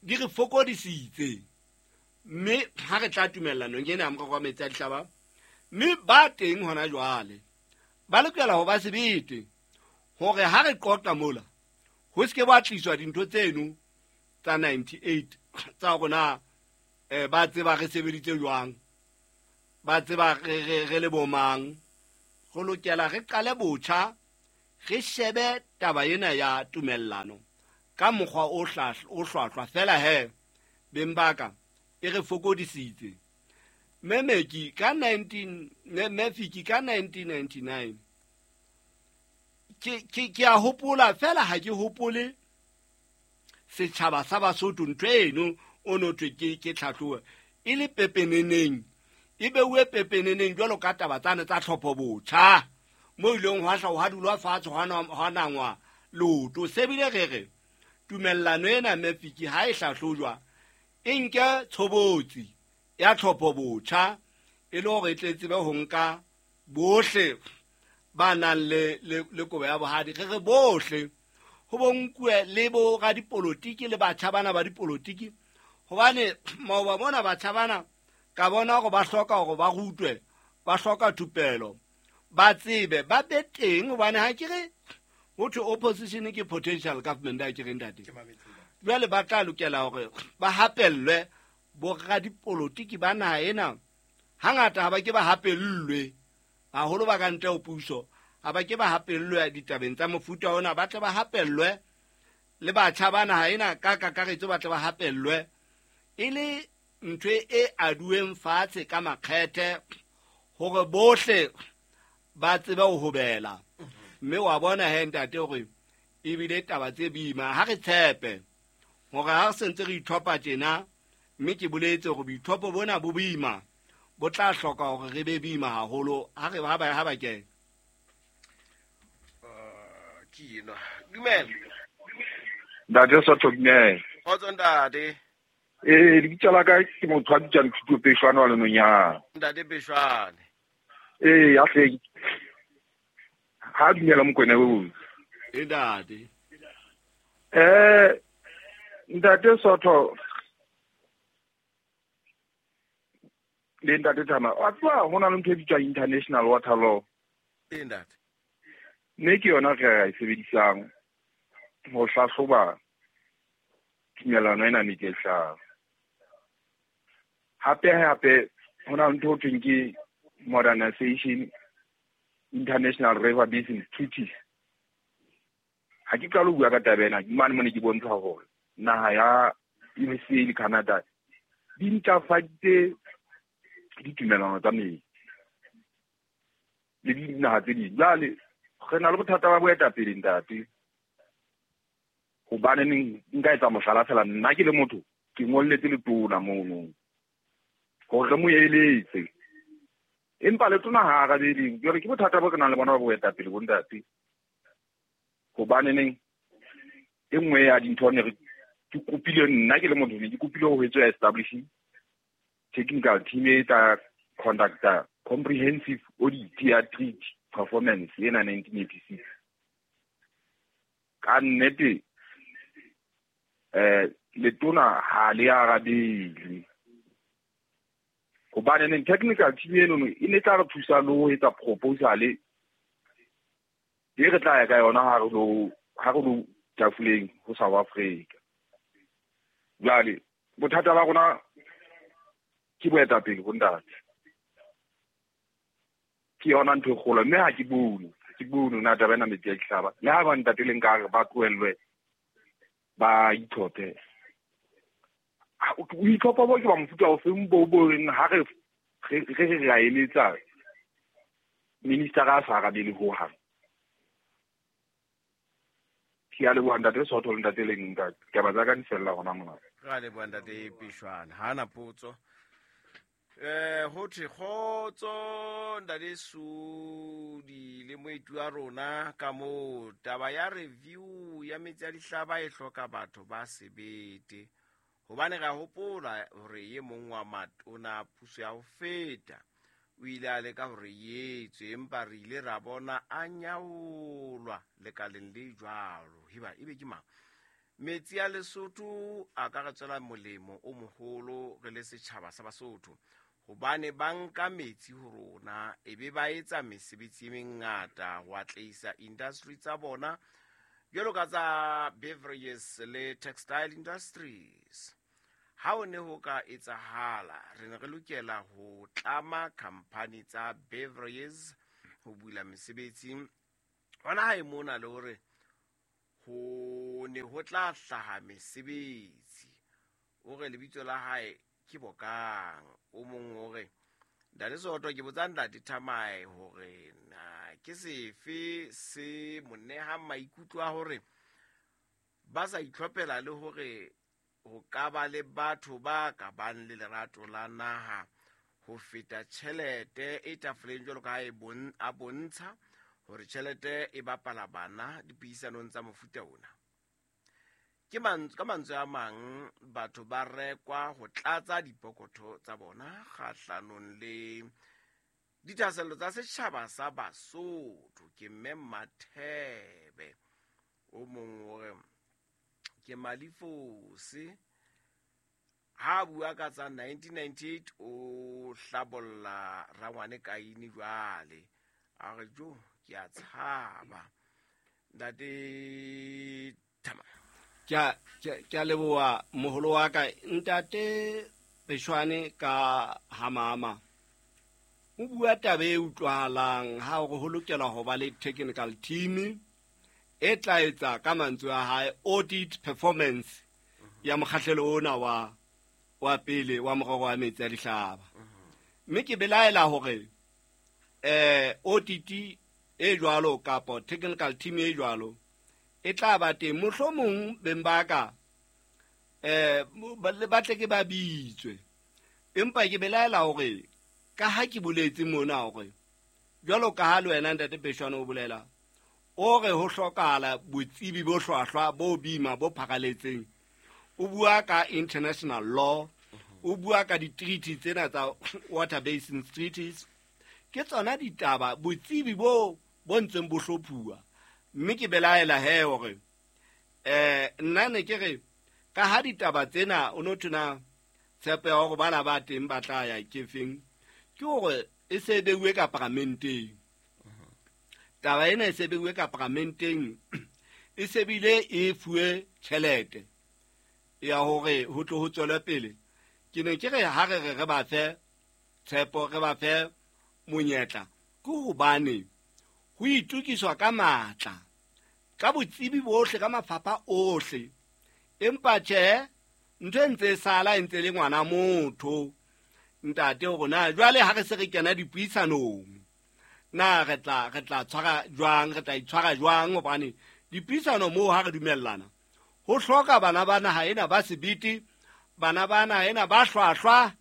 di re fokodisitse, mme ha re tla tumellanong ena ya morero wa metsi a dihlaba, mme ba teng hona jwale ba lokela ho ba sebete hore ha re qoqa mola ho se ke ba tliswa dintho tseno tsa 98 tsa rona, ba tseba re sebeditse jwang, ba tseba re le bomang, Re lokela re qale botjha, re shebe taba ena ya tumellano ka mokgwa o hlwahlwa fela he beng ba ka e re fokodisitse. Memeki ka 19 ka 1999 ke a hopola fela ha ke hopole setjhaba sa Basotho ntho eno o no thwe ke tlhatlhobo e le pepeneneng, e beuwe pepeneneng jwalo ka taba tsane tsa tlhopho botjha mo ileng hwa hla hwa dulwa fatshe hwa nangwa leoto. Se bile re re tumellano ena Mefiki ha e hlahlojwa e nke tshobotsi ya tlhopho botjha e le hore e tle tsebe ho nka bohle ba nang le kobo ya bohadi. Re re bohle ho bonkuwe le bo radipolotiki le batjha bana ba dipolotiki, hobane maoba mona batjha bana ka bona hore ba hloka hore ba rutwe, ba hloka thupelo, ba tsebe, ba be teng. Hobane ha ke re ho thwe opposition ke potential government, ha ke re ntate. Jwale ba tla lokela hore ba hapellwe bo radipolotiki ba naha ena. Hangata ha ba ke ba hapellwe haholo ba ka ntle ho puso, ha ba ke ba hapellwe ditabeng tsa mofuta ona, ba tle ba hapellwe le batjha ba naha ena ka kakaretso, ba tle ba hapellwe e le ntho e aduweng fatshe ka makgethe hore bohle ba tsebe ho hobela. Mme wa bona he ntate hore ebile taba tse boima. Ha re tshepe hore ha re sentse re ithopa tjena, mme ke boletse hore boithopo bona bo boima, bo tla hloka hore re be boima haholo ha re ha ba ke ke ena. Dumela ntate Sotho, dumela. Kgotso ntate. Lebitso la ka ke motho a bitswang Thuto Peshwane wa Lenonyana. Ntate Peshwane. A hle ha dumela Mokwena o. Ntate. Ntate Sotho le ntate Thama, wa tseba ho na le ntho e bitswang international water law. Ntate. Mme ke yona re e sebedisang ho hlahloba tumellano ena metsi a dihlaba. Hape ho na le ntho ho thweng ke modernization international river basin treaties. Ha ke qala ho bua ka taba ena, mane mone ke bontsha hore naha ya USA le Canada di ntlafaditse ditumellano tsa metsi le dinaha tse ding. Jwale re na le bothata ba boetapele ntate, hobane neng nka etsa mohlala fela, nna ke le motho ke ngolletse letona mono hore re mo eletse, empa letona ha arabele. Jwale ke bothata bo re nang le bona ba boetapele bo ntate, hobane neng e nngwe ya dintho ne re ke kopile, nna ke le motho ne ke kopile ho etswa establishing technical team e tla conducta comprehensive audit ya treaty performance ena 1986. Ka nnete letona ha le arabele, hobane neng technical team eno e ne tla re thusa le ho etsa proposal e re tla ya ka yona ha re lo tafoleng ho South Africa. Jwale bothata ba rona ke boetapele bo ntate, ke yona ntho e kgolo. Mme ha ke bone na taba ena metsi a dihlaba, le ha ba ntate le nka re ba tlohellwe ba itlhophe. Boitlhopho bo ke ba mofuta ofeng bo reng ha re re a eletsa minister a sa arabele hohang. Ke a leboha ntate Sotho le ntate Leng, ntate taba tsa ka di fella hona mona. Re a leboha ntate Peshwane. Ha na potso. Ho thwe kgotso ntate Sudi le moeti wa rona ka moo. Taba ya review ya metsi a dihlaba e hloka batho ba sebete, hobane re a hopola hore e mong wa matona puso ya ho feta o ile a leka hore e etswe, empa re ile ra bona a nyaolwa lekaleng le jwalo. Heba ebe ke mang? Metsi a Lesotho a ka re tswela molemo o moholo re le setjhaba sa Basotho, hobane ba nka metsi ho rona ebe ba etsa mesebetsi e mengata ho atlehisa industry tsa bona jwalo ka tsa beverages le textile industries. Ha o ne ho ka etsahala, re ne re lokela ho tlama company tsa beverages ho bula mesebetsi hona hae mona le hore ho ne ho tla hlaha mesebetsi. O re lebitso la hae ke Bokang. O mong o re Ntate Soto, ke botsa Ntate Thamae hore na ke sefe se mo nehang maikutlo a hore ba sa itlhophela le hore ho ka ba le batho ba ka bang le lerato la naha ho feta tjhelete e tafoleng, jwalo ka ha a bontsha hore tjhelete e bapala bana dipuisanong tsa mofuta ona. Ke ka mantswe a mang, batho ba rekwa ho tlatsa dipokotho tsa bona kgahlanong le dithahasello tsa setjhaba sa Basotho. Ke Mme Mathebe. O mong o re ke Malifose, ha bua ka tsa 1998 o hlabolla rangwane Kaine jwale, a re jo ke a tshaba. Ntate Thama, ke a leboha moholo wa ka Ntate Peshwane ka Hamama. O bua taba e utlwahalang ha hore ho lokela ho ba le technical team e tla etsa ka mantswe a hae audit performance ya mokgahlelo ona wa pele wa morero wa metsi a dihlaba. Mme ke belaela hore audit e jwalo kapa technical team e jwalo e tla ba teng, mohlomong beng ba ka ba tle ke ba bitswe. Empa ke belaela hore ka ha ke boletse mona hore jwalo ka ha le wena Ntate Peshwane o bolela o re ho hlokahala botsebi bo hlwahlwa bo bima bo pharaletseng, o bua ka international law, o bua ka di-treaty tsena tsa water basin treaties, ke tsona ditaba botsebi bo bo ntseng bo hlophuwa. Mme ke belaela he hore nna ne ke re ka ha ditaba tsena o no thona tshepo ya hore bana ba teng ba tla ya kefeng, ke hore e se beuwe ka paramenteng. Taba ena e se beuwe ka paramenteng, e se bile e fuwe tjhelete ya hore ho tlo ho tswele pele. Ke ne ke re ha re re ba fe tshepo, re ba fe monyetla, ke hobane ho itukiswa ka matla, ka botsebi bohle, ka mafapha ohle. Empa tjhe, ntho e ntse e sala e ntse le ngwana motho ntate hore na jwale ha re se re kena dipuisanong na re tla tshwara jwang, re tla itshwara jwang, hobane dipuisano moo ha re dumellana ho hloka bana ba naha ena ba sebete, bana ba naha ena ba hlwahlwa,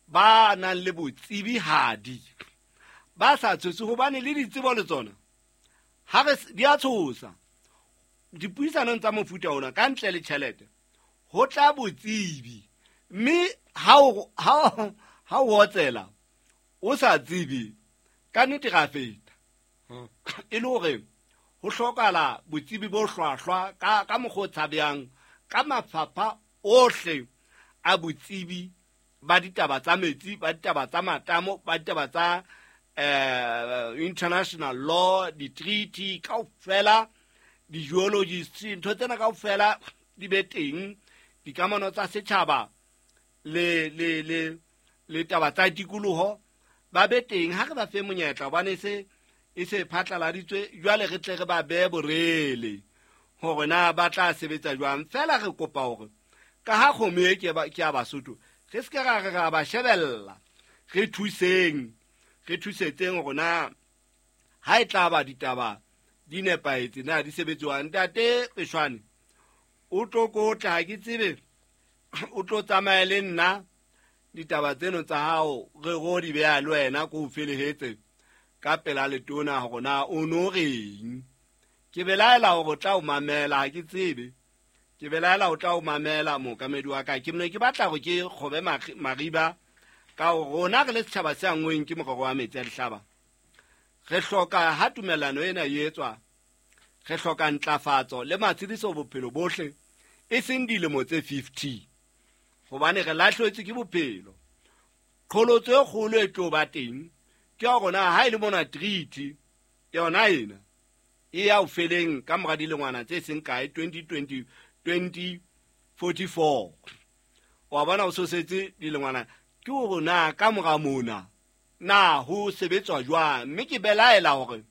ba nang le botsebihadi, ba sa tshose, hobane le ditsebo le tsona ha re di a tshosa. Dipuisanong tsa mofuta ona ka ntle le tjhelete ho tla botsebi, mme ha o otsela o sa tsebe ka nnete ra feta. E le hore ho hlokahala botsebi bo hlwahlwa ka mokgwa o tshabehang, ka mafapha ohle a botsebi ba ditaba tsa metsi, ba ditaba tsa matamo, ba ditaba tsa international law, di-treaty kaofela, di-geologists, ntho tsena kaofela di be teng, dikamano tsa setjhaba le taba tsa tikoloho ba be teng. Ha re ba fe monyetla hobane e se phatlaladitswe, jwale re tle re ba behe borele hore na ba tla sebetsa jwang. Feela re kopa hore ka ha kgomo e ke ya Basotho, re se ke ra re ra ba shebella, re thuseng, re thusetseng hore na ha e tla ba ditaba di nepahetse na di sebetswang. Ntate Peshwane o tlo kotla, ha ke tsebe o tlo tsamaya le nna ditaba tseno tsa hao re ro di beha le wena ko o felehetse ka pela letona hore na o no reng. Ke belaela hore o tla o mamela, ha ke tsebe, ke belaela o tla o mamela mookamedi wa ka. Ke ne ke batla hore ke kgobe mariba ka hore rona re le setjhaba se anngweng ke morero wa metsi a dihlaba, re hloka ha tumellano ena e etswa, re hloka ntlafatso le matshediso bophelo bohle, e seng dilemo tse 50, hobane re lahlehetswe ke bophelo. Qholotso e kgolo e tlo ba teng ke ya rona ha e le mona treaty yona ena e ya o feleng ka mora dilengwana tse seng kae, 2020 2044. Wa bona o sosetse dilengwana, ke hore na ka mora mona Na ho sebetswa jwang? Mme ke belaela hore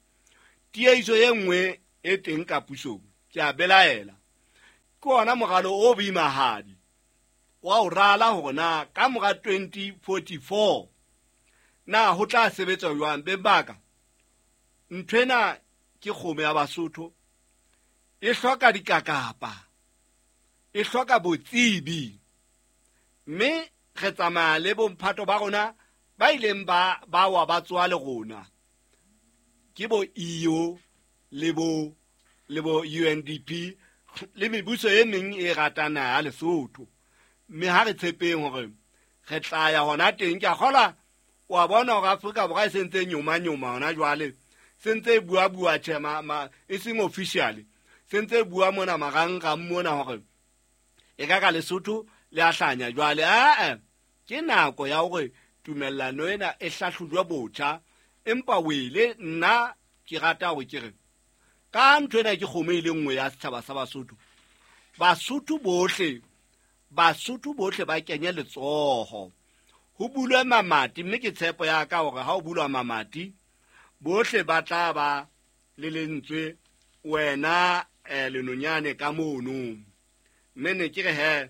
tiehiso e nngwe e teng ka pusong, ke a belaela. Ke ona moralo o boimahadi wa ho rala hore na ka mora 2044 na ho tla sebetswa jwang. Beng ba ka, nthwena ke kgomo ya Basotho, e hloka dikakapa, e hloka botsebi, mme re tsamaya le bomphato ba rona ba ileng ba wa ba tsoa le rona, ke bo EU le bo UNDP le mebuso e meng e ratang naha ya Lesotho. Mme ha re tshepeng hore re tla ya hona teng. Ke a kgolwa wa bona hore Afrika Borwa e sentse nyoma-nyoma hona jwale, sentse e bua-bua tjhe, e seng officially, sentse e bua mona marangrang mona hore e ka ka Lesotho le a hlanya jwale. Ae, ke nako ya hore tumellano ena e hlahlojwe botjha. Empa wele nna ke rata hore ke re ka ntho ena ke kgomo e le nngwe ya setjhaba sa Basotho. Basotho bohle ba kenye letsoho, ho bulwe mamati, mme ke tshepo ya ka hore ha o bulwa mamati bohle ba tla ba le lentswe, wena lenonyane ka mono. Mme ne ke re he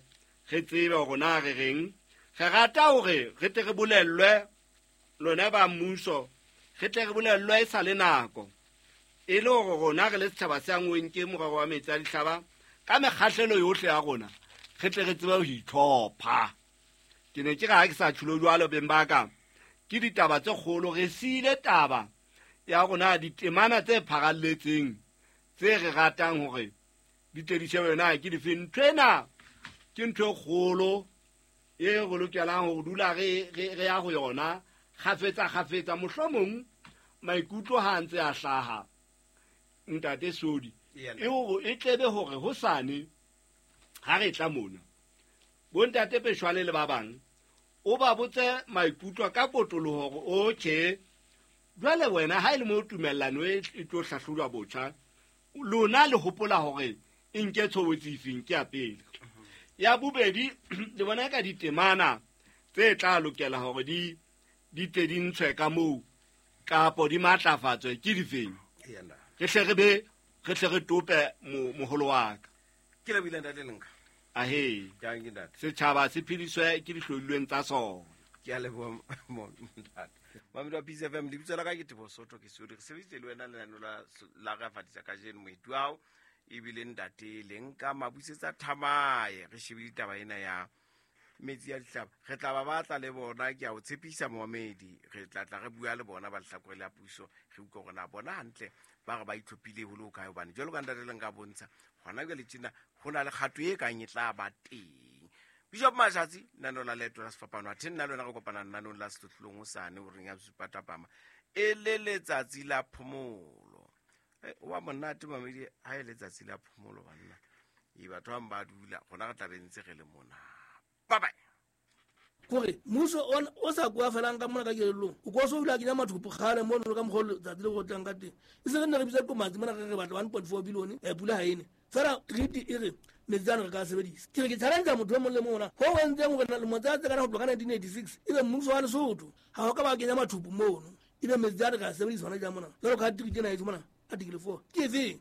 re tsebe hore na re reng. Re rata hore re tle re bolellwe lona ba mmuso, re tle re bolellwe e sa le nako, e le hore rona re le setjhaba se angweng ke morero wa metsi a dihlaba ka mekgahlelo yohle ya rona, re tle re tsebe ho itlhopha. Ke ne ke re ha ke sa tjhulo jwalo, beng ba ka, ke ditaba tse kgolo. Re siile taba ya rona ditemana tse pharalletseng tse re ratang hore di tle di shebe na ke dife. Ntho ena ke ntho e kgolo e re lokelang ho dula re ya ho yona kgafetsa. Mohlomong maikutlo ha ntse a hlaha, ntate Sodi, e hore e tlebe hore hosane ha re tla mona bontate Peshwale le ba bang, o ba botse maikutlo ka kotloloho hore okay, jwale wena ha e le mo tumellano e tlo hlahlojwa botjha, lona le hopola hore e nke tshobotsi efeng? Ke ya pele. Ya bobedi, le bona ka ditemana tse tla lokela hore di tle di ntshwe ka moo kapo di matlafatswe ke difeng, re hle re tope moholo wa ka. Ke lebohile ntate Lenka. Ahe, setjhaba se phediswe ke dihlodilweng tsa sona. Ke a leboha ntate. Mamedi wa Peace FM, lebitso la ka ke Teboho Sotho, ke Sodi. Re sebeditse le wena lenaneo la re fatisa kajeno. Moeti wa hao ebile ntate Lenka Mabusetsa Thamae. Re shebile taba ena ya metsi ya dihlaba. Re tla ba batla le bona, ke a o tshepisa momamedi. Re tla tla re bua le bona ba lehlakore la puso, re utlwe hore na bona hantle ba re ba itlhophile ho le hokae, hobane jwalo ka ntate Lenka bontsha hona jwale tjena ho na le kgato e kang e tla ba teng. Bishop Mashatsi, lenaneo la Leeto la Sefapano, athe nna le wena re kopana lenanong la Sehlohlolong hosane horeng ya bosupa thapama, e le letsatsi la phomolo. Wa monate mamedi ha e letsatsi la phomolo banna. E batho ba ba dula, rona re tla be ntse re le mona. Bye bye. Kore mmuso o sa kwa felang ka mona ka kelellong, o ko so dula kenya mathupo kgale mono ka mokgwa letsatsi le go tlang ka teng. E se re nne re bitsa komatsi mona re batla 1.4 billion pula ha ene. Fela treaty e re metsi ana re ka sebedisa. Ke re ke challenge motho e mong le mong ona ho entseng hore lemo tsa tse kana ho tloha ka 1986 ebe mmuso wa Lesotho ha o ka ba kenya mathupo mono, ebe metsi ana re ka sebedisa hona jang mona. Jwalo ka treaty ena e mona article 4 ke efeng?